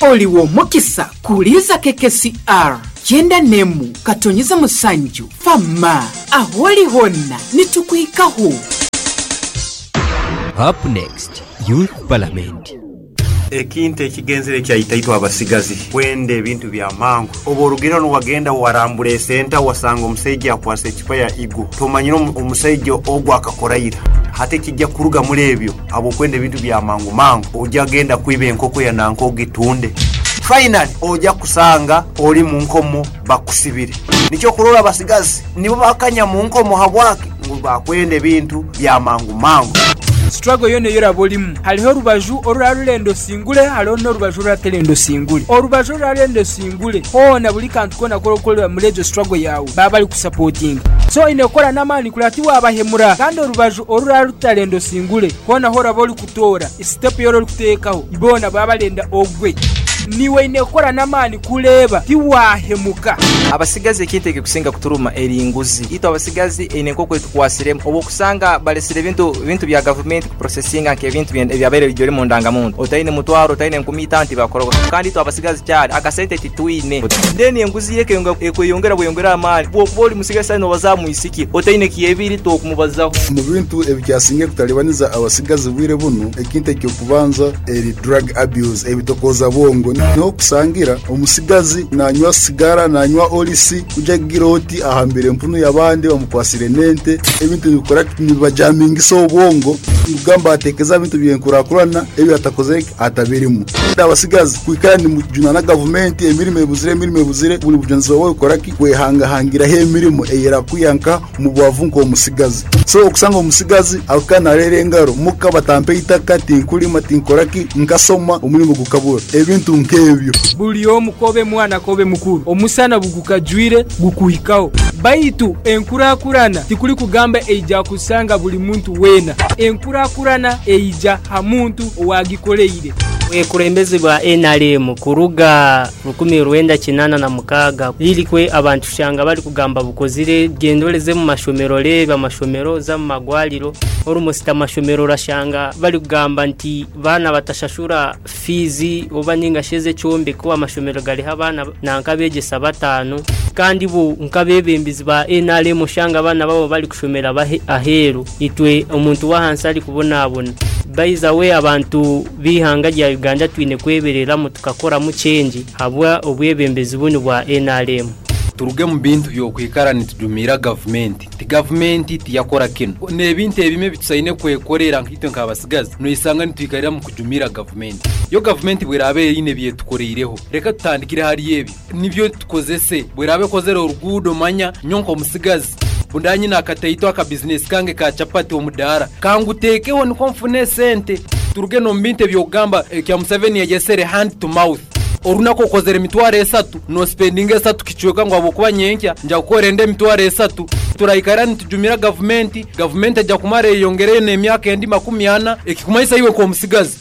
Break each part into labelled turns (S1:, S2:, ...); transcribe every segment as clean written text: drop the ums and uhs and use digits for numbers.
S1: Oli w'omukisa kuhuliiriza KKCR kyenda n'emu katonyeza musanju Fama ah'oli hona nitukuhikaho.
S2: Up next, Youth Parliament.
S3: Ekintu ekigenzere kyaita itwe abasigazi kwenda ebintu bya mangu. Oba orugire hanu wagenda warambura esenta wasanga omusaija akwase ecupa ya Eagle tomanyire omusaija ogu akakora ira. Hati ekija kuruga muli ebyo habw'okwenda ebintu bya mangu mangu oja genda kwiba enkoko ya nanka ogitunde. Finally oja kusanga ori mu nkomo bakusibire. Nikyo okurora abasigazi nibo bakanya mu nkomo habwaki? Ngu bakwenda ebintu bya mangu mangu.
S4: Struggle yoona ei oraba orimu, hariho orubaju orurarurenda osingure hariho n'orubaju oruraterenda osingure. Orubaju orurarenda osingure hoona buri kantu koona aku orikukorera muri egyo struggle yaawe baba barikusapotinga. So oine kukora n'amaani kureba tiwaabahemura. Kandi orubaju orurarutarenda osingure hoona ahu oraba orikutoora, step ei orikuteekaho boona baba barenda ogwe. Niiwe oine kukora n'amaani kureeba tiwaahemuka.
S5: Abasigazi ekintu ekirikusinga kuturuma eri nguzi. Itwe abasigazi eine nk'oku etukwasiremu obu okusanga baresire ebintu bintu bya gavumenti kuprosesinga nk'ebintu ebyabaire biri omu ndangamuntu. Otaine mutwaro, otaine enkumi itaano tibakukora kandi itwe abasigazi kyari akasente titwine. Then enguzi yo ekweyongera bweyongera amaani. Bwokuba ori musigazi saaha nobaza aha mwisiki otaine kyebiri tokumubazaho.
S6: Omu bintu ebikyasingire kutalibaniza abasigazi bwire bunu, ekintu eky'okubanza eri drug abuse, ebitokooza bwongo. Niho okusangira omusigazi nanywa sigara, nanywa olisi, kuja kugira oti ahambire empunu y'abandi bamukwasire n'ente. Ebintu nibikora ki? Nibibajamingisa obwongo, nikugamba ateekeza aha bintu by'enkurakurana ebi atakozire ki? Atabirimu. Abasigazi kwikara nimujunana gavumenti, emirimo ebuzire, emirimo ebuzire, buri bujunanizibwa bwawe kukora ki? Kwehangahangiraho emirimo ey'erakwiha nka omu bwavu nk'omusigazi. So okusanga omusigazi akaba nareera engaro muka batampa eitaka, tinkurima, tinkora ki, nkasoma omurimo gukabura. Ebintu nk'ebyo.
S4: Buri omu k'obe mwana k'obe mukuru, omusana bugukajwire gukuhikaho. Baitu enkurakurana tikurikugamba eija kusanga buri muntu weena. Enkurakurana eija ha muntu owagikoreire.
S7: Obukulembeze bwa nrm kuruga 1986 lirikwe abantu shanga bari kugamba bukozire genda oreze mu mashomero oreebe amashomero oze mu magwariro almost amashomero orashanga bari kugamba nti baana batashashura fiizi oba ninga shi ez'ekyombeko amashomero gariho abaana nanka abegyesa bataano kandi bo nk'abebembezi ba nrm oshanga abaana baabo bari kushomera aheeru itwe omuntu w'ahansi ari kubonabona. By the way abantu b'eihanga rya Uganda twine kwebereramu tukakoramu change habwa obwebembezi bunu bwa nrm.
S8: Turuge mu bintu by'okwikara nitujumiira gavumenti nti gavumenti tiyakora kinu. N'ebintu ebimwe ebi tusaine kwekorera nkaitwe nk'abasigazi noisanga nitwikarira mu kujumiira gavumenti. Yo gavumenti bw'eraaba eine ebi etukoreireho, reka tutandikire hari ebyo nibyo tukozese. Bw'eraaba ekozere oruguudo manya nyowe nk'omusigazi bundaba nyine akataito akabizinesi kange ka chapati omudaara, kanguteekeho nikwo nfune esente. Turuge n'omu bintu eby'okugamba ekya Museveni yayesere hand to mouth. Orunaku okozere emitwaro esatu, nosipendinga esatu kicweka ngu ahabw'okuba nyenkya nja kukora endi emitwaro esatu. Turaikara nitujumira gavumenti, gavumenti eja kumara eyeyongereyo n'emyaka endi makumiana, ekikumanyisa iwe nk'omusigazi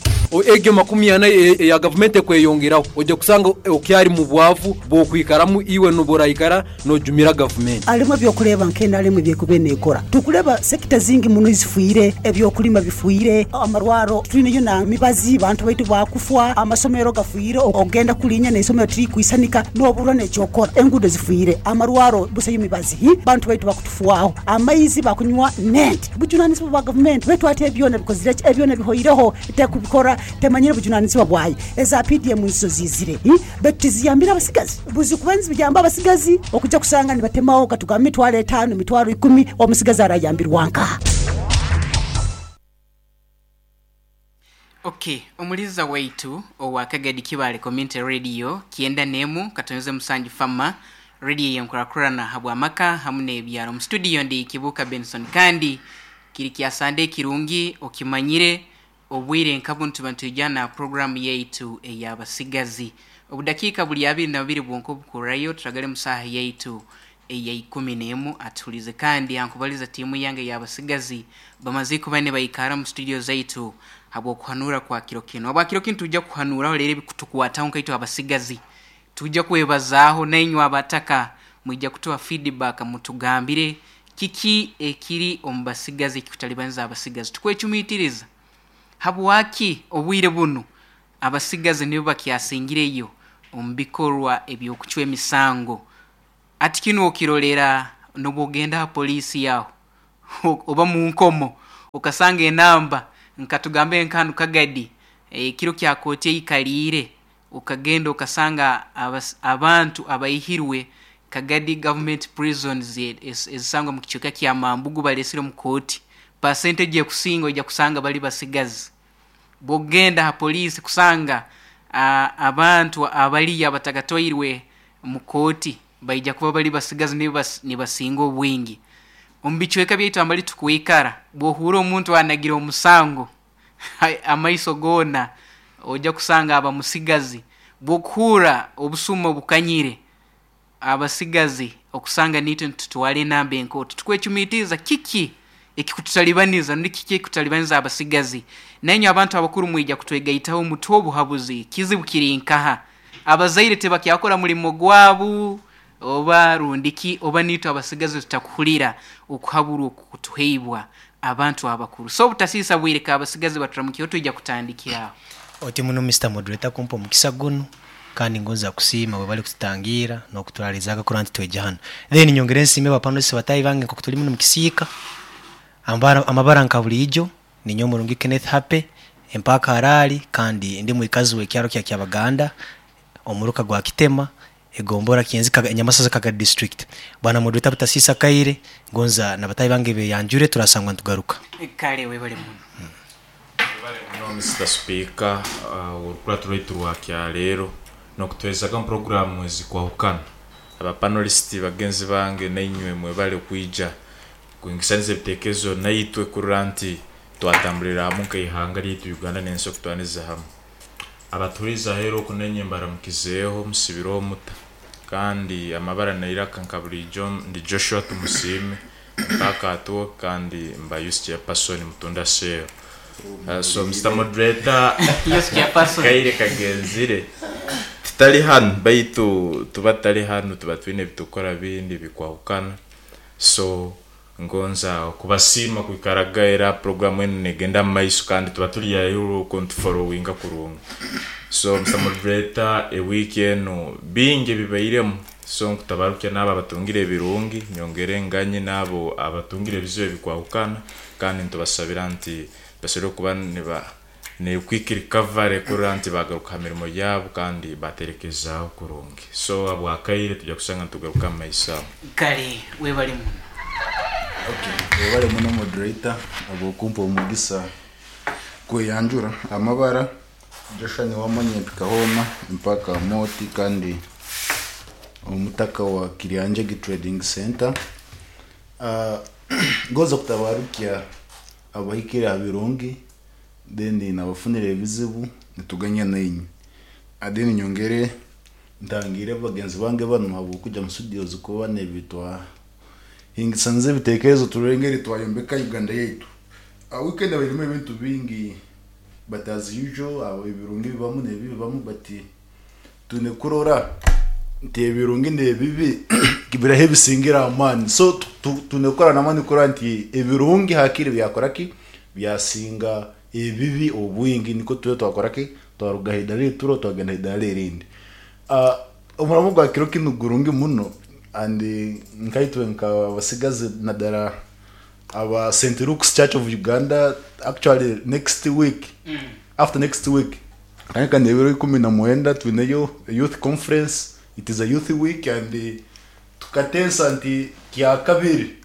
S8: egyo makumiana eya gavumenti ekweyongeraho, oja kusanga okyari mu bwavu bw'okwikaramu iwe nobu oraikara Nojumira gavumenti.
S9: Harimu eby'okureeba nka NRM ebi erikuba neekora. Turikureeba sekita zingi muno ezifiire, eby'okurima bifiire, amarwaro titwineyo na mibazi, bantu baitu baakufwa, amasomero gafiire, ogenda kurinya n'eisomero tirikwisanika n'oburwa n'eky'okukora. Enguudo zifiire, amarwaro busayo mibazi, bantu baitu bakutufwaho, amaizi bakunywa n'ente. Bujunanizibwa bwa gavumenti beitu hati ebi byona bikozire ki? Ebi byona bihoireho, tekubikora, temanyire bujunanizibwa bwayo. Eza PDM nizo ziizire beitu tiziyambire abasigazi. Buzikuba niziyamba abasigazi okuja kusanga nibatemaho katugambe emitwaro etaano, emitwaro ikumi, omusigazi arayambirwa nkaha?
S10: Ok, omuliza waitu owa Kagadi Kibaale Community Radio kyenda n'emu katonze musanju Fama radio ey'enkurakurana habw'amaka hamu n'ebyaro. Omu studio ndi Kibuuka Benson kandi kiri kya Sande ekirungi okimanyire Obwire nka bunu tuba nitwija na puroguraamu yaitu ey'abasigazi. Obudakiika buli abiri na bubiri bwonka obukurrayo, turagale mu saaha yaitu eya ikumi n'emu. Atuhuliize kandi ankubaliza tiimu yange ey'abasigazi bamazire kuba nibaikara omu situdiyo zaitu habw'okuhanuura kwa kiro kinu. Habwa kiro kinu twija kuhanuuraho rero ebikutukwataho nkaitwe abasigazi. Twija kwebazaaho nainywe abataka mwija kutuha feedback mutugambire Kiki ekiri omu basigazi ekikutalibaniza abasigazi? Tukwecumitiriza habwaki obwire bunu Abasigazi nibo bakyasingireyo omu bikorwa eby'okucwa emisango. Ati kinu okirolera n'obwogenda ha poliisi aho oba mu nkomo okasanga enamba nka tugambe nka hanu Kagadi ekiro kya kooti eikaliire okagenda okasanga abantu abaihirwe Kagadi Government Prisons ezisangwa mu kicweka kya Mambugu balesire omu kooti, percentage ekusinga oija kusanga bali basigazi. Bw'okugenda ha poliisi kusanga abantu abaliyo abatakatwairwe mu kooti baija kuba bali basigazi nibo nibasinga obwingi. Omu bicweka byaitu ambali tukwikara, bw'ohuura omuntu anagire omusango, amaiso goona oija kusanga aba musigazi. Bw'okuhuura obusuma obukanyire, Abasigazi okusanga naitwe nitutwara enamba enkooto, tukwecumiitiriza kiki ekikututalibaniza rundi kiki ekikutalibaniza abasigazi. Nainywe abantu abakuru mwija kutwegaitaho mutuhe obuhabuzi. Kizibu kiri nkaha? Abazaire tibakyakora mulimo gwabu oba rundi ki oba naitwe abasigazi tutakuhurira okuhaburwa okukutuheibwa abantu abakuru. So obutasiisa bwire ka abasigazi baturamukireho twija kutandikira aho.
S11: Oti muno Mister Moderator kumpa omukisa gunu. Kandi ngonza kusiima bwe bari kututangiira n'okuturariza kurora nti tweija hanu. Then nyongere nsiime ba panelists bataahi bange nk'oku turi muno omu kisiika. Amabara nka buriijo, ninyowe Murungi Kenneth Happy, empaaka Harari kandi ndi mwikazi w'ekyaro kya Kyabaganda, omuruka gwa Kitema, egombora Kyenzi Nyamasaza Kagadi District. Bwana Moderator butasiisa akaire, ngonza na bataahi bange beyanjure turasangwa nitugaruka.
S10: Kale webale muno.
S12: Webale muno Mister Sipiika orukurato rwaitu rwa kyaleero nokutuherezaga omu puroguramu ezikwahukana. Aba panelists bagenzi bange nainywe mwebale kwija kwingisaniza ebitekerezo naitwe kurora nti twatambulira hamu nkeihanga ryaitu Uganda nensi okutwaniza hamu. Abatuhuriize aheeru oku nainywe mbaramukizeeho musibireho muta? Kandi amabara neiraka nka buriijo ndi Joshua Tumusiime mpaaka at work kandi mba youth chairperson Mutunda cell. So Mister Moderator
S10: Youth chairperson.
S12: Kaire kagenzire tutari hanu baitu tuba tutari hanu tuba twine ebitukukora bindi bikwahukana so Ngonza okubasiima kwikaraga era program enu negenda mumaiso kandi tuba turi haihi okwo nitufollowinga kurungi. So Mister Moderator eweek enu bingi ebibairemu so nkutabarukya naabo abatungire ebirungi nyongere nganye naabo abatungire ebizibu ebikwahukana kandi nitubasabira nti basobole kuba niba ne quick recovery kurora nti bagaruka ha mirimo yaabo kandi baterekezaaho kurungi. So habwakaire tugya kusanga nitugaruka omu maiso aho.
S10: Kale webale muno.
S6: Ok webale muno moderator habwokumpa omugisa kweyanjura. Amabara Joshua Niwamanya mpika hoona mpaka Amooti kandi omutaka wa Kiryanjegi Trading Center. Ngonza kutabarukya abahikire aha birungi then nabafunire ebizibu nituganya nainywe. Then nyongere ntangire bagenzi bange banu habwokuja mu studios kuba nebitwahingisaniza ebitekerezo turore engeri twayombeka Uganda yaitu. Weekend ebairemu ebintu bingi but as usual ebirungi bibamu nebibi bibamu but twine kurora nti ebirungi nebibi biraha ebisingire amaani so twine kukora namaani kurora nti ebirungi hakiri byakora ki byasinga ebibi obwingi nikwo tube twakora ki twaruga aha idaara eri turiho twagenda aha idaara erindi. Omurimo gwa kiro kinu gurungi muno and nkaitwe nk'abasigazi nadara aba St Luke's Church of Uganda actually next week after next week Nka n'ebiro 19 twineyo youth conference, it is a youth week and tukateesa nti kyakabiri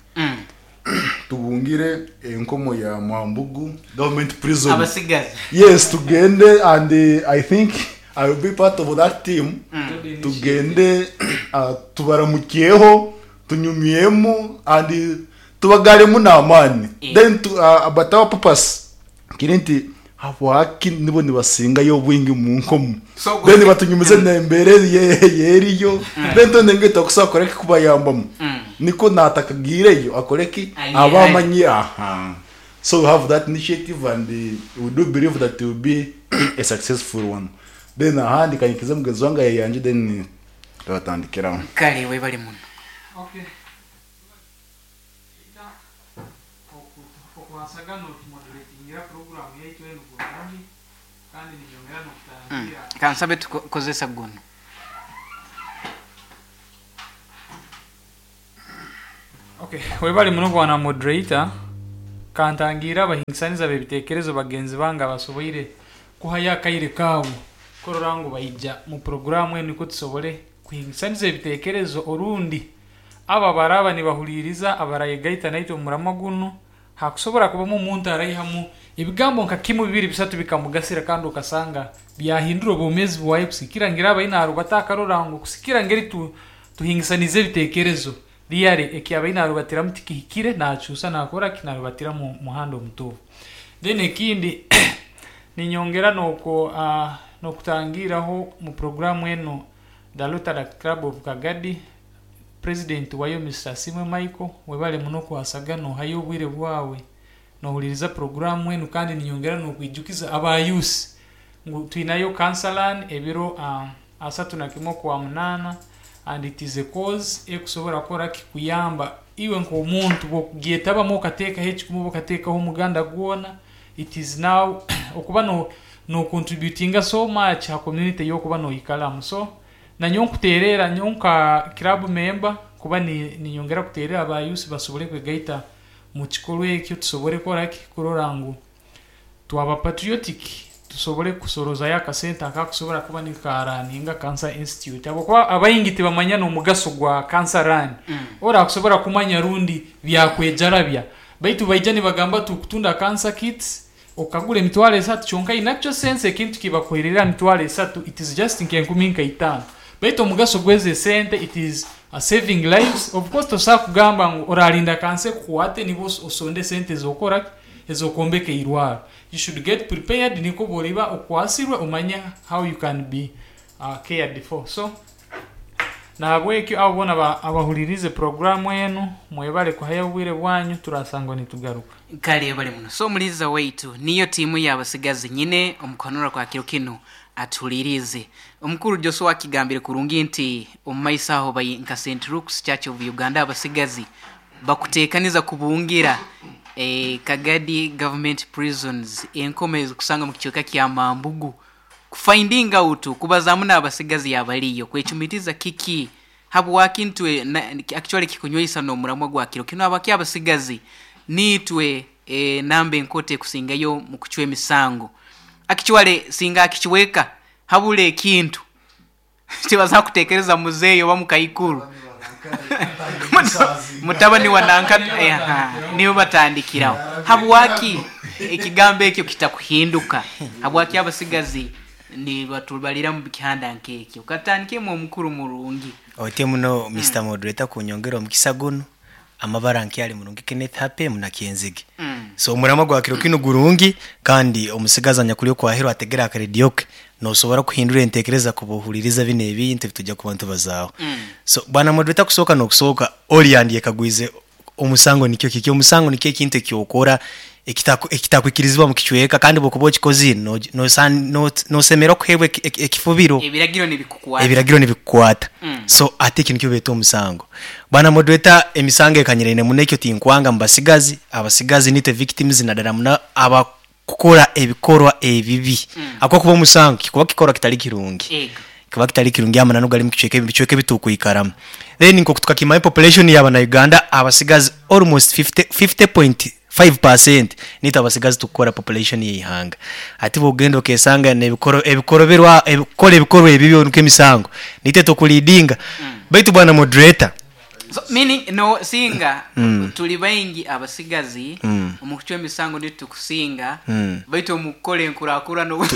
S6: tubungire enkomo ya Mwambugu government prison.
S10: Abasigazi.
S6: Yes, tugende and I think I will be part of that team. Tugende tubaramukyeho, tunyumyemu and tubagaremu n'amaani. Then but our purpose Kiri nti habwaki nibo nibasingayo obwingi omu nkomo?
S10: So
S6: Then batunyumize n'embeera eyeriyo, then twena engeri twakusobola kukora ki kubayambamu. Nikwo naatakagiireyo akore ki?
S10: Aye,
S6: Abe
S10: aye.
S6: amanye aha. So we have that initiative and we do believe that it will be a successful one. Then ahandi kanyikize mugenzi wange ayeyanje then turatandikiraho.
S10: Kale webale muno.
S13: Okay. Peter, Okuhasaga notumoduretingira puroguramu yaitu enu kurungi kandi ninyongera nokutangirra.
S10: Kansabe tukozesa guno.
S13: Okay, webale muno bwana moderator. Kantangiire abahingisaniza b'ebitekerezo bagenzi bange abasoboire kuhayo akaire kaabo kurora ngu baija mu puroguramu enu nikwo tusobole kuhingisaniza ebitekerezo orundi abo abaraba nibahuliriza abarayegaita naitwe omu muramwa gunu hakusobora kubamu omuntu araihamu ebigambo nka kimu bibiri bisatu bikamugasira kandi okasanga byahindura obwomeezi bwawe kusikira ngira abaine aharubata akarora ngu kusikira ngeri tu, tuhingisanize ebitekerezo really eki abaine arubatiramu tikihikire nakyusa nakora ki narubatira mu muhanda omutuufu. Then ekindi ninyongera noko nokutangiraho mu programu enu the Rotaract Club of Kagadi president wayo Mr. Asimwe Michael webale muno kwasaga nohayo obwire bwawe nohuliriza programu enu kandi ninyongera nokwijukiza aba youth ngu twinayo cancer run ebiro 31 okwa munaana and it is a cause ekusobora kukora ki kuyamba iwe nk'omuntu bw'okugyetabamu okateekaho ekikumu oba okateekaho omuganda gwona it is now okuba no no contributinga so much ha community ey'okuba noikaramu so nanyowe nkuteerera nyowe nka club member kuba ni ninyongera kuteerera aba youth basobole kwegaita mu kikorwa ekyo tusobole kukora ki kurora ngu twaba patriotic tusobole kusorozayo akasente akakusobora kuba nikaraninga Cancer Institute habwokuba abaingi tibamanya n'omugaso gwa Cancer Run. Orakusobora kumanya rundi byakwejarabya baitu baija nibagamba tukutunda cancer kits okagura emitwaro esatu kyonka in actual sense ekintu kibakuherera emitwaro esatu it is just nk'enkumi nka itaano baitu omugaso gw'ezo esente it is saving lives. Of course tosobola kugamba ngu orarinda kansa ekukwate nibwo osonde esente ez'okukora ki ez'okwombeka eirwaro. You should get prepared nikwo bworiba okwasirwe omanye how you can be cared for. So nahabwekyo abo boona abahuririize puroguramu enu mwebale kuhayo obwire bwanyu turasangwa nitugaruka.
S10: Kale webale muno. So omuliiza waitu niyo tiimu y'abasigazi nyine omu kuhanura kwa kiro kinu atuhuliriize. Omukuru Joshua akigambire kurungi nti omu maiso aho bai nka Saint Luke's Church of Uganda abasigazi bakuteekaniza kubungira Kagadi Government Prisons enkomo ezikusangwa mu kicweka kya Mambugu ku finding out kubazaamu n'abasigazi abaliyo kwecumitiza kiki habwaki ntwe actually kikunyweisa n'omuramwa gwa kiro kinu habwaki abasigazi niitwe enamba enkooto ekusingayo mu kucwa emisango actually singa akicweka habura ekintu Tibaza kutekereza muzeeyi oba mukaikuru mutabani wa nanka nibo batandikiraho. Habwaki ekigambo ekyo kitakuhinduka? Habwaki abasigazi nibatubalira mu kihanda nk'ekyo? Katandikemu omukuru murungi.
S11: Otyo muno Mister Moderator kunyongera omukisa gunu. Amabara nkyali murungi Kenneth Happy Munakyenzige. So omuramwa gwa kiro kinu gurungi kandi omusigazi anyakuli okwaheru ategere akarediyo ke nosobora kuhindura entekereza kuba ohuliriza binu ebintu ebitujja kuba nitubazaaho. So bwana moderator kusooka n'okusooka oli yandyekagwize omusango nikyo kiki? Omusango nikyo ekintu ekyokora ekitakwikirizibwa mu kicweka kandi obu okuba okikozire nosemerra kuheebwa ekifubiro.
S10: Ebiragiro nibikukwata.
S11: Ebiragiro nibikukwata. So hati eki nikyo beeta omusango. Bwana moderator emisango ekanyiraine muno ekyo tinkwanga mubasigazi, abasigazi nitwe victims nadala muno abakukora ebikorwa ebibi. Ahabw'okuba omusango kikuba kikorwa kitari kirungi. Kikuba kitari kirungi amananu gari mukicweka ebicweka ebitukwikaramu. Then nkoku tukakimanya population ya banauganda abasigazi almost 50.5% nitwe abasigazi tukukora population yeihanga. Hati bwogenda okesanga nebikoroberwa kukora ebikorwa ebibi nkemisango nitwe tukuleadinga. Baitu bwana moderator.
S10: So meaning no singa tuli baingi abasigazi omu kucwa emisango nitwe tukusinga baitu omu kukora enkurakurana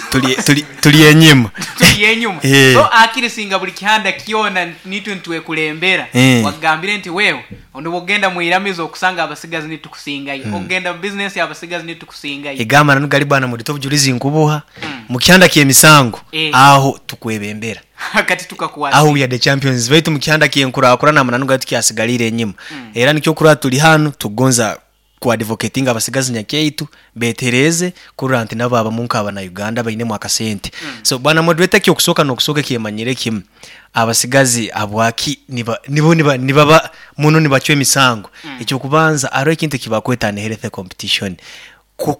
S11: Turi enyima.
S10: Turi enyuma. So akiri singa buri kihanda kyona nitwe nitwekulembera. Wagambire nti wewe obu ogenda mwiramizo okusanga abasigazi nitukusingayo. Ogenda mu bizinesi abasigazi nitukusingayo.
S11: Ego amananu gari bwana murito obujurizi nkubuha mu kihanda ky'emisango aho tukwebembera.
S10: Kati tukakwasa.
S11: Aho we are the champions baitu mu kihanda ky'enkurakurana amananu gari tukyasigariire enyima. Era nikyo okurora turi hanu tukugonza ku advocatinga abasigazi nyakyaitu betereeze kurora nti nabo babamu nk'abana Uganda abainemu akasente. So bwana moderator eky'okusooka n'okusooka ekyemanyire kimu abasigazi habwaki niba nibo niba nibaba muno nibacwa emisango. Eky'okubanza hariho ekintu eki bakweta unhealthy competition. Ku-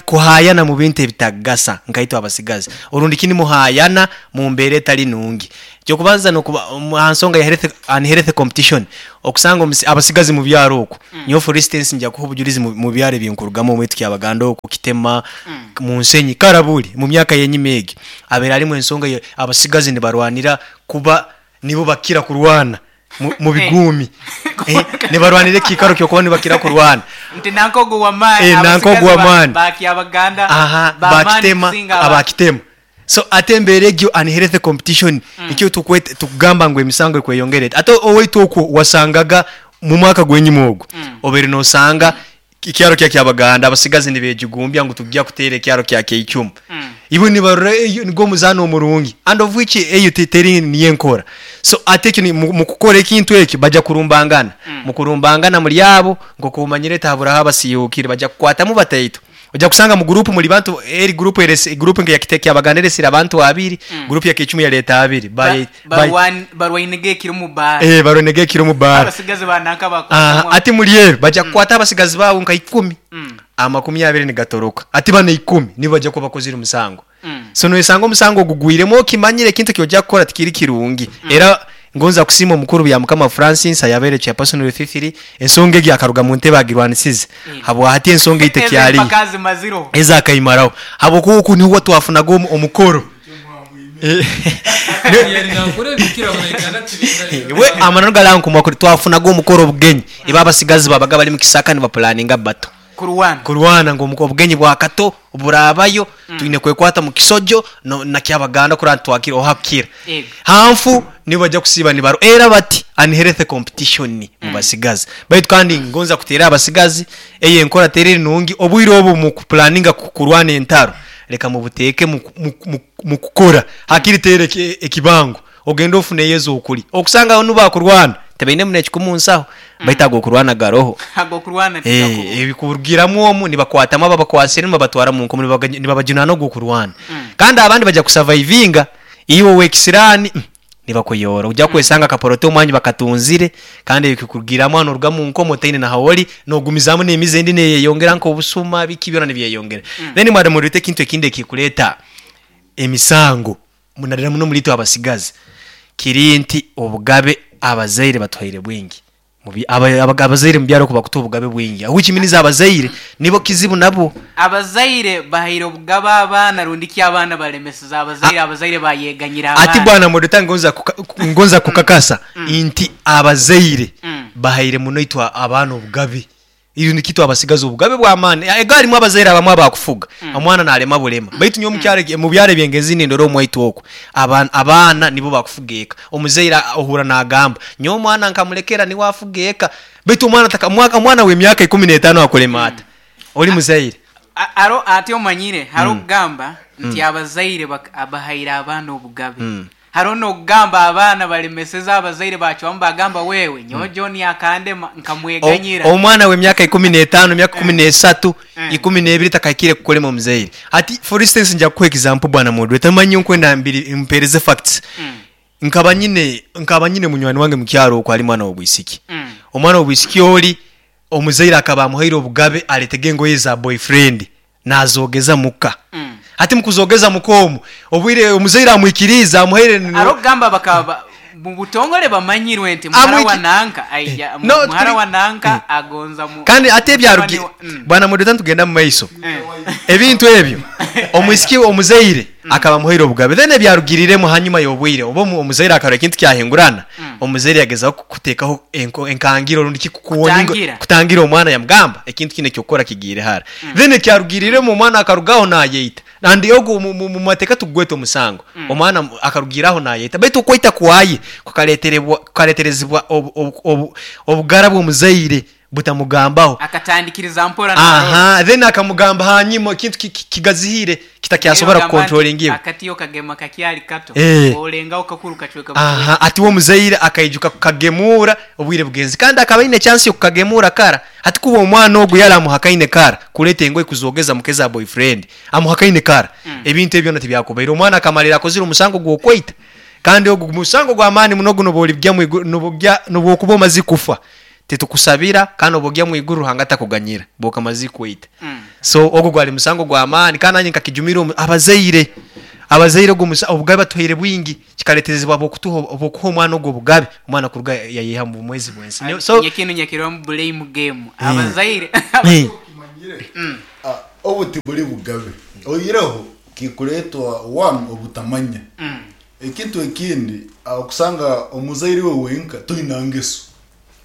S11: Kuhayana mu bintu ebitagasa nkaitwe abasigazi orundi ki nimuhayana mu mbeera etali nungi. Ekyokubanza nokuba aha nsonga ya health unhealthy competition okusanga omusi abasigazi mu byaro okwo nyowe for instance nja kuha obujurizi mu mu byaro ebinkurugamu omwaitu Kyabaganda okwo Kitema mu nsenyi Karaburi mu myaka yenyima egi habaire harimu ensonga ya abasigazi nibarwanira kuba nibo bakira kurwana mu biguumi nibarwanira ekiikaro ky'okuba nibakira kurwana.
S10: Nti nanka ogu w'amaani,
S11: Nanka
S10: abasigazi
S11: ogu w'amaani.
S10: ba Kyabaganda
S11: Aha,
S10: b'amaani
S11: bakitema,
S10: kusinga aba.
S11: abakitema. So ate embeera egyo unhealthy competition nikyo tukwete tukugamba ngu emisango ekweyongera eti. Ate owaitu okwo wasangaga mu mwaka gw'enyima ogwo obaire nosanga Ekyaro kya Kyabaganda abasigazi nibejugumbya ngu tugya kuteera ekyaro kya Kyeicumu. Ibo nibarora eyo nigwo omuzaano omurungi and of which eyo teri niyo enkora. So ate ekyo mukukora ekintu ekyo baja kurumbangana. Mukurumbangana muri abo nkoku omanyire tihaburaho abasiihukire baja kukwatamu bataito. Oja kusanga mu group muri bantu eri group eresi group nka eya Kyabaganda eresire abantu abiri, group ya Kyeicumu yaleeta abiri. By by
S10: Barwainege ekiro omu baara.
S11: Eh, barwainege ekiro omu baara.
S10: Abasigazi ba nanka bakwatamu.
S11: Aha, ati muri eryo baja kukwata abasigazi baabo nka ikumi, amakumi abiri nigatoroka. Ati banu eikumi nibo baja kuba bakozire omusango. So noyesanga omusango gugwiremu okimanyire ekintu eki oja kukora tikiri kirungi. Era ngonza kusiima omukuru Byamukama Francis ayabaire chairperson Rufifiri, ensonga egyo akaruga mu ntebe agirwanisize. Habwahati ensonga ei
S10: Ezo
S11: tekyariyo.
S10: empaka azimazireho.
S11: Ezo akaimaraho. Habwokuba oku niho twafunaga omukoro. We amananu gari aha nkumwa kuri twafunaga omukoro obugenyi ibo abasigazi babaga bari mukisaka nibapulaninga battle
S10: Kurwana.
S11: Kurwana ngu obugenyi bwa Kato burabayo twine kwekwata mukisojo no na Kyabaganda kurora nti twakira oha kukira.
S10: Ego.
S11: Hanfu nibo baija kusiiba nibaru era bati unhealthy competition mubasigazi. Baitu kandi ngonza kuteera abasigazi eyo enkora teri nungi obwire obu mukupulaninga kurwana entaro Leka mubuteeke mu kukora. Hakiri teera ekibango ogende ofuneyo ez'okulya. Okusanga aho nubo akurwana tibainemu n'ekikumu nsaho baitu ag'okurwana garoho.
S10: Ag'okurwana tigakubaho.
S11: Ebikurugiramu omu nibakwatamu ababakwasire nibabatwara mu nkomo nibabajunaana ogw'okurwana. Kandi abandi baija kusavaivinga iwe ow'ekisiraani Nibakuyoora. Oija kwesanga akaporoto omwanya bakatunzire kandi ebikukurugiramu hanu oruga mu nkomo otaine na hawori nogumizaamu n'emize endi neyeyongera nk'obusuma biki byona nibyeyongera. Then mwaba nimureta ekintu ekindi ekikureeta emisango naddala muno omuri itwe abasigazi kiri nti obugabe abazaire batuhaire bwingi. Abazaire mubyaro oku bakutuha obugabe bwingi which means abazaire nibo kizibu nabo.
S10: Abazaire bahaire obugabe abaana rundi ki abaana balemeseze abazaire abazaire bayeganyira
S11: Ati
S10: abaana.
S11: bwana moderator ngonza ngonza kukakasa nti abazaire bahaire muno itwe abaana obugabe. Rundi ki twabasigaza obugabe bw'amaani. Ego harimu abazaire abamwe abakufuga, omwana nalema bulema. Baitu nyowe omu kyaro mu byaro eby'engenzi nindora omu waitu oku, abaana nibo bakufuga eka. Omuzaire ohurra nagamba, nyowe omwana nkamulekera niwe afuga eka. Baitu omwana taka omwana w'emyaka 15 akulema ata? Oli muzaire.
S10: Aro ati omanyire, hariho okugamba nti abazaire bahaire abaana obugabe. Hariho n'okugamba abaana baremeseze abazaire baacwamu baagamba wewe nyowe John akandema nkamweganyira.
S11: Omwana w'emyaka 15, emyaka 13, 12 takahikire kukulema omuzaire. Hati for instance nja kukuha example bwana moderator manya nyowe nkwenda mbiri mpereze facts. Nkaba nyine nkaba nyine munywani wange mukyaro okwo ari mwana w'obwisiki. Omwana w'obwisiki ori omuzaire akaba amuhaire obugabe aretege engoye za boyfriend Naazogeza muka. Hati mu kuzoogeza muka omwo, obwire omuzaire amwikiriize, amuhaire.
S10: Hariho okugamba bakaba mu butongore bamanyirwe nti muhara wa nanka aija,
S11: No,
S10: muhara wa nanka agonza mu.
S11: Kandi ate ebyarugi
S10: mutabani wa.
S11: Bwana Moderator nitugenda mu maiso. Ebintu ebyo omwisiki omuzaire akaba amuhaire obugabe then ebyarugiriremu hanyuma y'obwire oba omuzaire akarora ekintu kyahingurana, omuzaire yagezaho kuteekaho enkangiro rundi ki
S10: Kutangira.
S11: kutangira omwana yamugamba ekintu kinu eky'okukora kigiire hara. Then ekyarugiiriremu omwana akarugaho nayeita and ogu omu mateeka tigugweta omusango. Omwana akarugiira aho nayeita baitu okweita kwaye kukareterezibwa obugara bw'omuzaire butamugambaho.
S10: Akatandikiriza mpora narora.
S11: Aha, then akamugamba hanyima ekintu kigazihiire kitakyasobora
S10: Bagamba nti
S11: kukontrolinga.
S10: akati okagema kakyali kato, olengaho kakuru kacweka
S11: Aha,
S10: bucweka.
S11: ati we omuzaire akaijuka kukagemuura obwire bugenzi kandi akaba aine chance y'okukagemuura kara. Hati kuba omwana ogu yari amuhakaine kara kureeta engoye kuzoogeza muka eza boyfriend, amuhakaine kara, ebintu ebi byona tibyakubaire. Omwana akamarira akozire omusango gw'okweita kandi ogu musango gw'amaani muno ogu n'obu origya omu iguru, n'obu okuba omazire kufa, titukusabira kandi obu ogya omu iguru Ruhanga takuganyira, obu okamazire kweita. So ogwo gwari musango gw'amaani kandi nanye nkakijumira omu abazaire. Abazaire ogwo musa obugabe batuhaire bwingi kikareterezibwa ahabw'okutuha ahabw'okuha omwana ogwo obugabe omwana kuruga yayeha omu bumwezi bw'ensi. Nyowe so
S10: Nyekinu nyakirwamu blame game
S11: Eh.
S10: abazaire
S11: Eh.
S6: Obu tiburi bugabe oihireho kikureetwa one obutamanya. Ekintu ekindi okusanga omuzaire iwe wenka toine ngeso.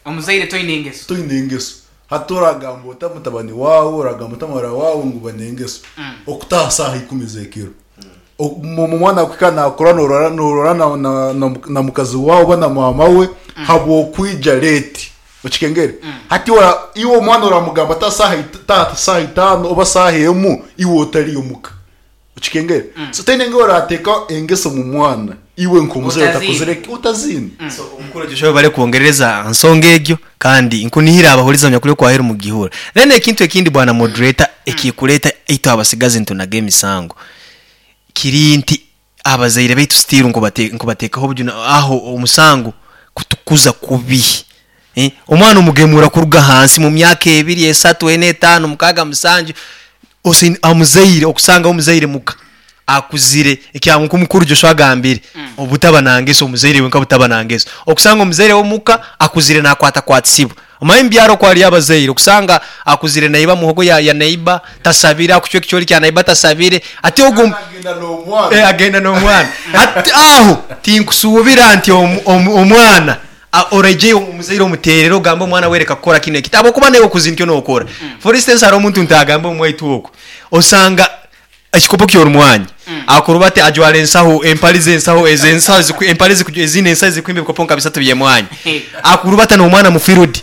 S10: Omuzaire toine engeso.
S6: Toine engeso. Hati oragamba ota mutabani waawe, oragamba ota muhara waawe ngu ba n'engeso? Okutaaha saaha ikumi z'ekiro. Omwana akuhika nakura norora norora na mukazi waawe oba na maama we habw'okwija leeti. Okikengere? Hati iwe omwana oramugamba ota taaha saaha itaano oba saaha emu iwe otariyo muka? Okikengere? So toine ngu orateeka engeso omu mwana iwe nk'omuzaire otakozire ki? Otaziine.
S11: So omukuru Joshua webare kwongerereza aha nsonga egyo kandi nkunihira abahuriza banyakuri okwaheru mugihura. Then ekintu ekindi bwana moderator ekikureta itwe abasigazi nitunaga emisango kiri nti abazaire baitu still nkubatekaho obujuna aho omusango kutukuza kubi. Omwana omugemura kuruga ahansi mu myaka ebiri, esatu, ena, etaano, mukaaga, musanju, ose omuzaire okusanga omuzaire muka akuzire ekya nk'omukuru Joshua agambire obutaba na ngeso omuzaire wenka butaba na ngeso okusanga omuzaire w'omuka akuzire nakwatakwatisiibwa omanye omu byaro oku hariyo abazaire okusanga akuzire naiba muhogo ya ya neighbor tasabire akucwa ekicoori kya neighbor tasabire hati ogwo
S6: Agenda n'omwana.
S11: Agenda n'omwana hati aho tinkusuubira nti omwana Oraije omuzaire omuteerere ogambe omwana we reka kukora kinu eki ahabw'okuba naiwe okuzi nikyo nookora. For instance hariho omuntu ntagambe omu waitu oku, osanga ekikopo ky'orumwanyi akuruba ati ajwara ensaho empare z'ensaho ezo ensaho eziku empare eziku eziine ensaho ezirikwimba ebikopo nka bisatu by'emwanyi akurubata n'omwana mu field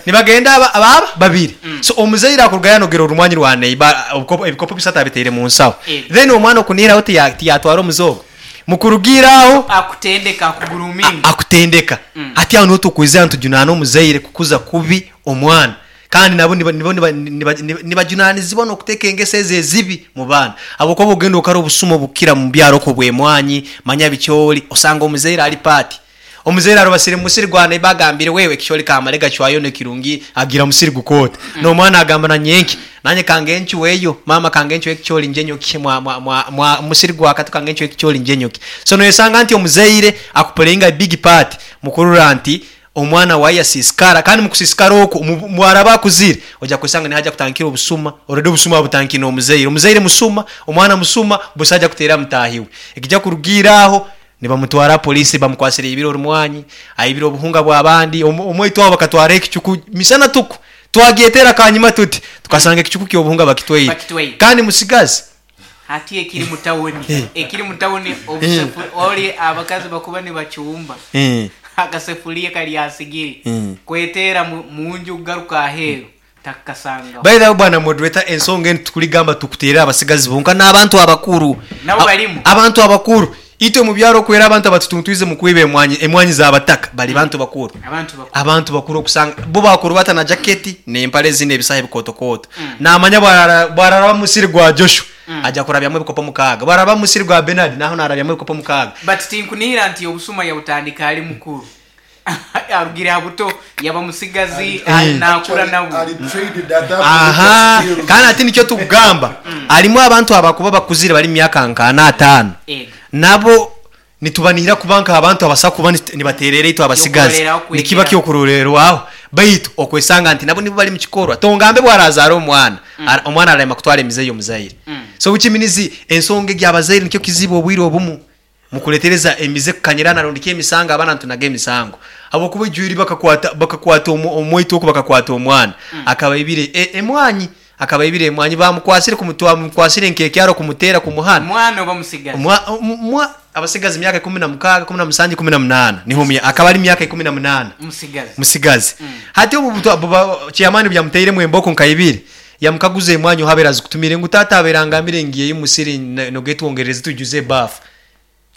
S11: nibagenda aba aba babiri so omuzaire akurugayo anogera orumwanyi rwa neighbour obukoopo ebikopo bisatu abitaire mu nsaho then omwana okunihiraho tiya tiyatwara omuze ogwo. Mukurugiira aho.
S10: Akutendeka, akuguruminga.
S11: Akutendeka. Hati aho niho tukwizira nitujunaana omuzaire kukuza kubi omwana. Kandi nabo nibo nibajunanizibwa n'okuteeka engeso ezo ezibi mu baana. Ahabw'okuba bw'ogenda okara obusuma obukukira mu byaro okwo obw'emwanyi, manya bikyoli, osanga omuzaire ali paati. Omuzaire arubasire mu musiri gwa neiba agambire wewe ekicoori kamare gacwayo nekirungi agira musiri gukoota. Nomwana agamba na nyenki nanye kange ncweyo mama kange ncwe ekicoori ngye nyokye mwa mwa mwa mwa musiri gwa katu kange ncwe ekicoori ngye nyokye. So noyesanga nti omuzaire akupuleyinga a big part mukurora nti omwana waye yasisikara kandi mukusisikara okwo mwaraba akuzire oja kwesanga niho aja kutandikira obusuma already obusuma abutandikire nomuzaire. Omuzaire musuma, omwana musuma busa aja kuteera mutahi we. Ekija kurugiira aho Nibamutwara aha poliisi bamukwasire aibire orumwanyi, aibire obuhunga bw'abandi. Omwaitu aho bakatwaraho ekicuku misana tuku. Twagyetera akanyima tuti, tukasanga ekicuku ky'obuhunga bakitwaire.
S10: Bakitwaire.
S11: Kandi musigazi.
S10: Hati ekiri mu tawuni,
S11: Eh.
S10: ekiri mu tawuni obusefu ori abakazi bakuba nibacumba
S11: Eh.
S10: akasefuriya kari aha sigiri
S11: Eh.
S10: kweteera mu munju kugaruka aheeru takakasangaho.
S11: By the way bwana moderator ensonga enu tikurigamba tukuterera abasigazi bonka n'abantu abakuru.
S10: Nabo barimu.
S11: Abantu abakuru. Itwe omu byaro okwera abantu abatutuntwize mu kwiba emwanyi emwanyi z'abataka bari bantu bakuru.
S10: Abantu bakuru.
S11: Abantu bakuru okusanga bo bakurubata na jaketi n'empare ezine ebisaho ebikootokooto. Naamanya bwarara bwararaba omu musiri gwa Joshua aja kurabyamu ebikopo mukaaga. Bwararaba omu musiri gwa Bernard naho naarabyamu ebikopo mukaaga.
S10: But tinkunihira nti obusuma yabutandika ari mukuru. Arugire aha buto yaba musigazi nakura nabwo.
S11: Aha, kandi hati nikyo tukugamba harimu abantu abakuba bakuzire bari mu myaka nka ana ataano nabo nitubanihira kuba nk'abantu abasa kuba nibateerera itwe abasigazi nikiba ky'okuroorerwaho baitu okwesanga nti nabo nibo bari mu kikorwa tongambe bu arazaara omwana omwana ararema kutwara emize y'omuzaire so which means ensonga egi abazaire nikyo kizibu obwire obumu Mukuretereza emize kukanyirana rundi ki emisango abaana nitunaga emisango habwokuba ijwiri bakakwata bakakwata omwaitu oku bakakwata omwana akaba aibire emwanyi akaba aibire emwanyi bamukwasire kumutwa bamukwasire nkekyaro kumutera kumuhana
S10: Mwana oba musigazi?
S11: Mwa mwa abasigazi myaka 16 17 18 niho akaba ari myaka 18
S10: Musigazi.
S11: musigazi hati obu chairman obu emboko nka ibiri yamukaguza emwanyi ohu abaire azikutumire ngu taata abaire angambire ngiyeyo omusiri nogetwongerereze twijuze ebafu.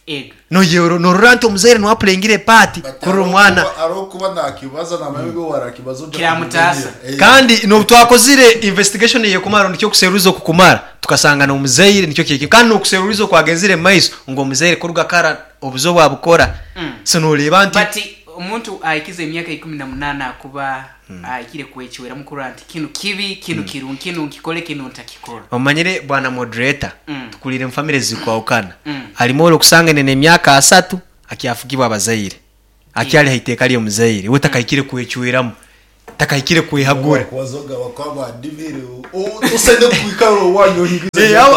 S10: Ego.
S11: Noyero norora nti omuzaire niwe apuleyingire epaati kurora omwana.
S6: Ahabw'okuba nakibaza namanya ebi warakibaza oja
S10: Kiramutaasa.
S6: kumuganyira. Eh.
S11: Kandi nobu twakozire investigation eyekumara rundi ki okuseruliza okukumara tukasanga nomuzaire nikyo kyekyo kandi nokuseruliza okwagenzire mumaiso ngu omuzaire kuruga kara obuze obwabukora so noreeba nti.
S10: But. Omuntu ahikize emyaka 18 akuba ahikire kwecweramu kurora nti kinu kibi, kinu kirungi, kinu nkikole, kinu ntakikora.
S11: Omanyire bwana moderator, tukurire mu famire zirikwahukana. Harimu ori okusanga aine n'emyaka 30 akyafugibwa abazaire, akyari ha iteeka ry'omuzaire, we takahikire kwecweramu, takahikire kwehagura.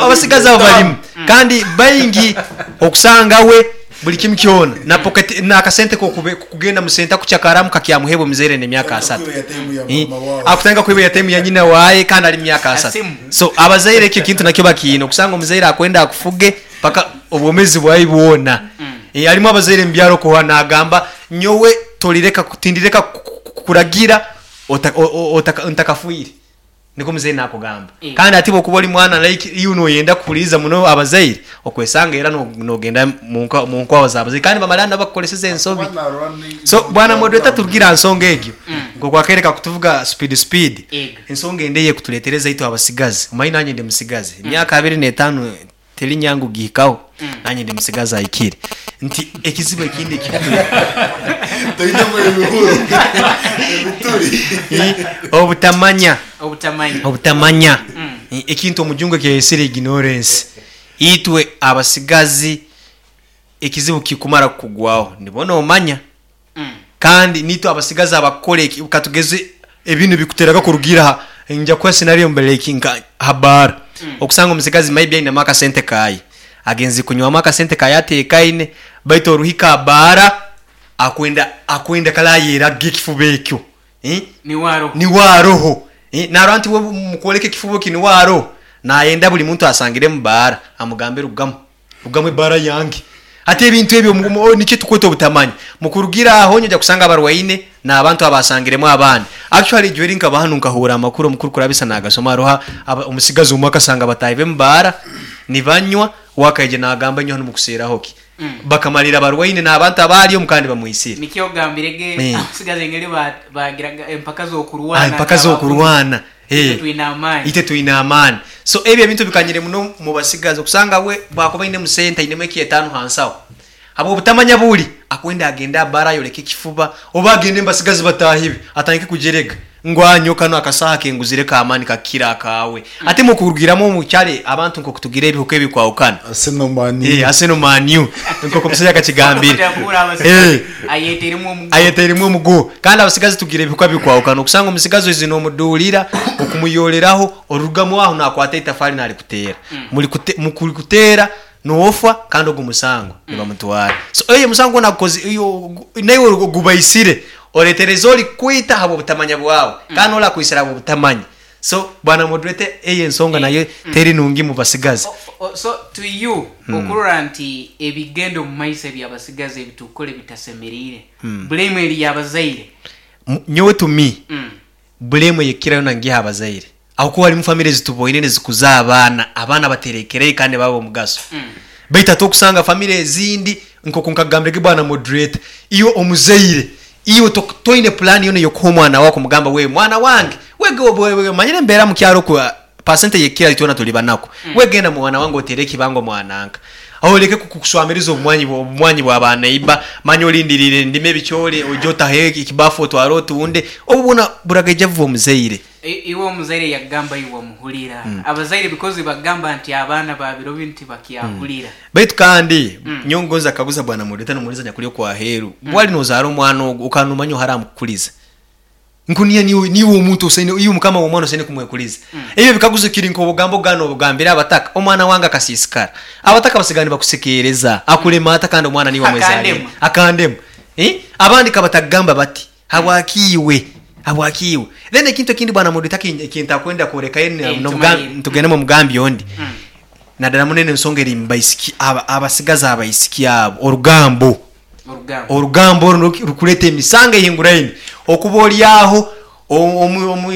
S11: Abasigazi abo barimu kandi baingi okusanga we buri kimwe kyona na pocket n'akasente k'okugenda mu senta kucakaramu kakyamuheebwa omuzaire n'emyaka 30. Akutandika kwiba airtime ya nyina waaye kandi ari mu myaka 30. So abazaire ekyo ekintu nakyo bakiine, okusanga omuzaire akwenda akufuge paka obwomeezi bwawe bwona. Harimu abazaire omu byaro okuha nagamba nyowe torireka tindireka kukuragira ntakafiire. Nikwo omuzaire nakugamba. Kandi hati bwokuba ori mwana like iwe noyenda kuhuririza muno abazaire, okwesanga era nogenda mu nkwawa z'abazaire kandi bamara nabo bakukoreseza ensobi. So bwana moderator turugire aha nsonga egyo, nk'oku akaire kakutuvuga speed speed, ensonga endi eyekuturetereza itwe abasigazi, omanyine nanye ndi musigazi, emyaka 25 teri nyangu kugihikaho, nanye ndi musigazi ahikire, nti ekizibu ekindi obutamanya, obutamanya, ekintu omujungu eki yayesire ignorance, itwe abasigazi ekizibu kikumara kukugwaho nibwo nomanya. Kandi nitwe abasigazi abakukora eki, katugeze ebintu bikuteraga kurugira aha, nja kuha scenario like nka aha baara, okusanga omusigazi maybe ainemu akasente kaye, agenze kunywamu akasente kaye atekaine, baitu oruhika aha baara akwenda akwenda kare ayerage ekifuba ekyo, niwe aroho, narora nti we mukworeka ekifuba eki niwe aroho, nayenda buri muntu asangire omu baara amugambe rugamu. Rugamu ebaara yange. Hati ebintu ebyo nikyo tukweta obutamanya. Mukurugira aho nyoja kusanga abarwaine n'abantu abasangiremu abandi. Actually ijweri nkaba hanu nkahuura amakuru omukuru kurabisa nagasoma haroho omusigazi omwe akasanga bataahi be mubaara nibanywa we akaija nagamba inywe hanu mukuseeraho ki? Bakamalira abarwaine n'abantu abaali omu kandi bamwisire.
S10: Nikyo ogambire ge abasigazi engeri bagiraga empaka z'okurwana.
S11: Empaka z'okurwana.
S10: Itwe twine amaani.
S11: Itwe twine amaani. So ebyo ebintu bikanyire muno mu basigazi okusanga we bwakuba ainemu sente ainemu ekyetaano ha nsaho habw'obutamanya buri akwenda agende aha baara ayoleke ekifuba oba agende mu basigazi bataahi be atandike kujerega ngu aa nyowe kanu akasaaha kenguzire k'amaani kakukira akaawe. Ate mukurugiramu omu kyaro abantu nk'oku tugira ebihuka ebikwahukana.
S6: Arsenal Man U.
S11: Arsenal Man U nk'oku omusaija akakigambire. Ayeteiremu omuguha. Kandi abasigazi tugira ebihuka bikwahukana. Okusanga omusigazi oize nomuduurira, okumuyooreraho, orugamu aho nakwata eitafari narikuteera. Mukurikuteera noofa kandi ogwo musango nibamutwara. So oyo omusango gwona agukoze naiwe ogubaisire, oretereza orikukwita ahabw'obutamanya bwawe kandi n'orakwitsire ahabw'obutamanya. So bwana moderator eyo ensonga nayo teri nungi mubasigazi.
S10: So to you okurora nti ebigenda omu maiso ebyabasigazi ebitukukora ebitasemeriire, blame eri yabazaire?
S11: Nyowe to me blame eyekukira yona ngiha abazaire ahabwokuba harimu family ezituboine nizikuza abaana, abaana baterekereyo kandi nibaba abomugaso baitu hati okusanga family ezindi nkoku nkakugambire ge bwana moderator iwe omuzaire Iwe toine pulaani yoona ey'okuha omwana waawe kumugamba we mwana wange wege omanyire embeera mu kyaro oku pasente eyekukira itwena turi banaku we genda mwana wange oteere ekibango mwananka oleke kukuswamiriza obumwanyi bwa ba neighbor manya olindiriire ndime ebicoori oije otahe ekibafu otware otunde obu bwona buragaija buva omuzaire.
S10: Iwe omuzaire yagamba iwe omuhurira. Abazaire because bagamba nti abaana ba biro binu tibakyahurira.
S11: Baitu kandi nyowe ngonza kukaguza bwana moderator nomuhuriza nyakuri okwaheru, bwali nozara omwana ogu okaba nomanya oha aramukukuriza? Ngu niiwe niiwe niiwe omuntu osaine iwe mukama w'omwana osaine kumwekuriza. Ebyo ebikaguzo kiri nk'obugambo gana obugambire abataka, omwana wange akasiisikara. Abataka basigara nibakusekeereza, akulema ata kandi omwana niiwe amwezariire?
S10: Akandema.
S11: Akandema. Abandi kabatagamba bati, habwaki iwe? Habwaki iwe? Then ekintu ekindi bwana moderator ekintakwenda kworekayo tugende omu mugambi ondi. Nadala muno eno ensonga eri mubaisiki abasigazi abaisiki abo orugambo. Orugambo oru rukureta emisango ehinguraine okuba ori aho omu.